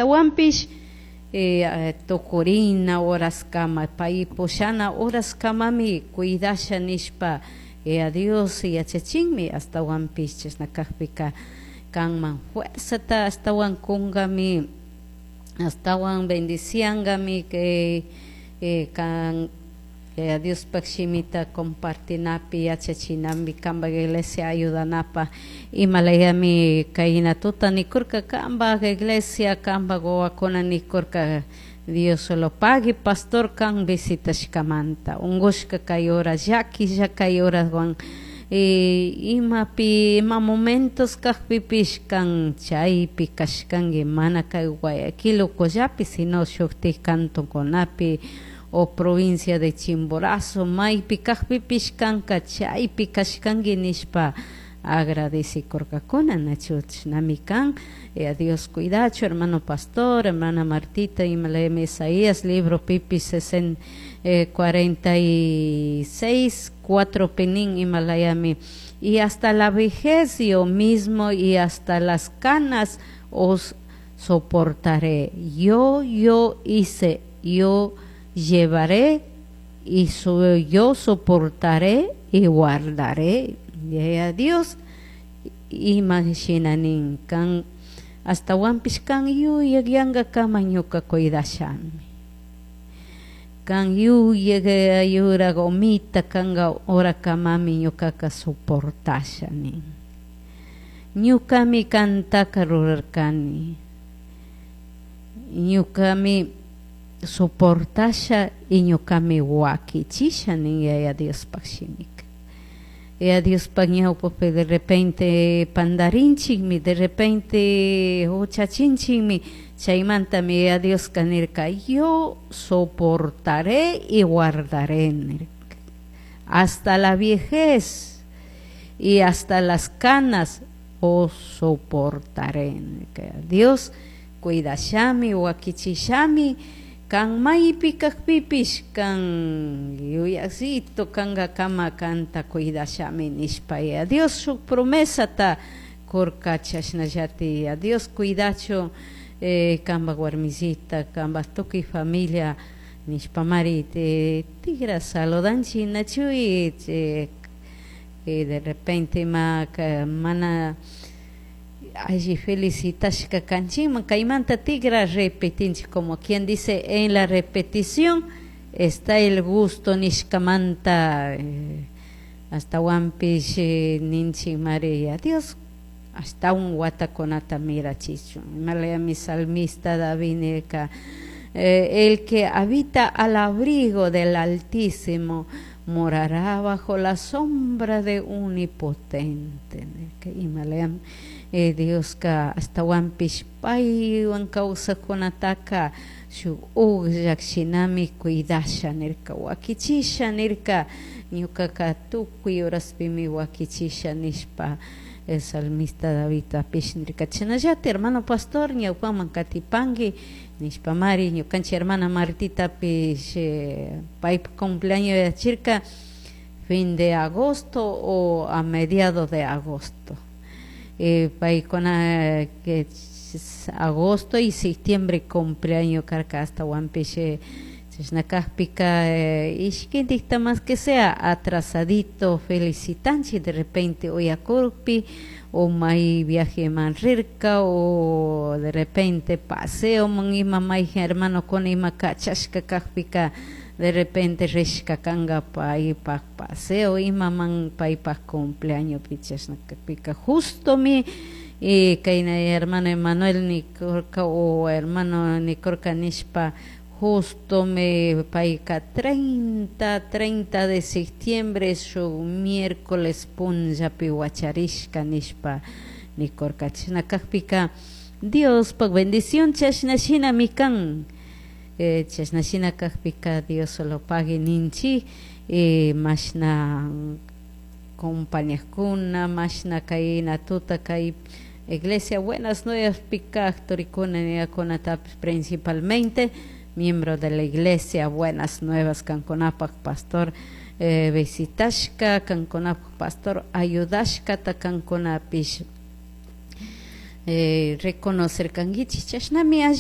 Ashtawanpish tukurina horaskama, pay pushana horaskamami cuidasha nishpa Dios yachachinmi. Ashtawanpish chashna kakpika kanman fuerzata ashtawan kunkami, ashtawan bendiciangami kay kan Diospaj shimita compartinapi, yachachinambi, kanpak iglesia ayudanapa. Imalayami kayna tuta nikurka kanpak iglesia, kanpak wawakuna nikurka Dios solo pagui pastor kan visitashkamanta, ungushka kay hora, llaquilla kay horawan, imapi ima momentos kakpipish kan chaypi kashkanki, mana kay Guayaquil ukullapi, sino shuktik cantonkunapi o provincia de Chimborazo maypi kakpipish kanka chaypi kashkanki nishpa agradecikurkakuna. Nachu chashnami kan. Dios cuidachu hermano pastor, hermana Martita. Imalayami Isaías libro pipish 46:4 pinin imalayami: "Y hasta la vejez yo mismo y hasta las canas os soportaré. Yo hice, yo llevaré y yo soportaré y guardaré". Yaya Dios ima shina nin kan: ashtawanpish kan yuyakyankakama ñuka cuidashami, kan yuyak yurak omita kanka horakamami ñukaka soportasha nin. Ñukami kantaka rurarkani, ñukami soportasha y ñukami wakichisha nin Yaya Diospaj shimika. Yaya Diospaj ñawpapi de repente pandarinchikmi, de repente huchachinchikmi, chaymantami Yaya Dioska nirka: "Yo soportaré y guardaré", nirka. "Hasta la viejez y hasta las canas os soportaré", nirka. Dios cuidashami, wakichishami, kan maypi kakpipish kan yuyakcito kankakama kanta cuidashami nishpa Yaya Dios shuk promesata kurka. Chashnallati Yaya Dios cuidachu kanpak warmisita, kanpak tukuy familia nishpamari tigra saludanchik. Nachuy de repente ima mana alli felicitashka kanchikman, kaymanta tigra repetinchik, como quien dice, "en la repetición está el gusto" nishkamanta. Ashtawanpish ninchik mari Dios ashtawan watakunata mirachichun. Imalayami salmista David nirka: "El que habita al abrigo del Altísimo morará bajo la sombra de Omnipotente". Imalayam Dioska ashtawanpish paywan kawsakkunataka shuk ukllak shinami cuidasha nirka, wakichisha nirka, ñukaka tukuy horaspimi wakichisha nishpa el salmista Davidtapish nirka. Chashnallata hermano pastor ñawpaman katipanki nishpamari ñukanchik hermana Martitapish paypak cumpleaños yachirka fin de agosto o a mediados de agosto. Paykuna que agosto y septiembre cumpleaños karka. Ashtawanpish chashna kakpika ishkintikta más que sea atrasadito felicitanchik, de repente uyakurpi o may viajeman rirka o de repente paseoman ima mayjan hermanokuna ima kachashka kakpika, de repente rishka kanka paypak paseo imaman paypak cumpleañospi. Chashna kakpika justomi kayna hermano Emanuel nikurka o hermano nikurka nishpa, justo me payka 30 de septiembre shuk miércoles punllapi wacharishka nishpa nikurka. Chashna kakpika Diospak bendición chashna shinami kan. Chashna shina kakpika Dios solo pagui ninchik. Mashna compañakuna, mashna kayna tuta kay iglesia Buenas Nuevas kak turikuna niyakunatapish, principalmente miembro de la iglesia Buenas Nuevas, kankunapak pastor visitashka, kankunapak pastor ayudashkata kankunapish reconocer kankichik, chashnami alli.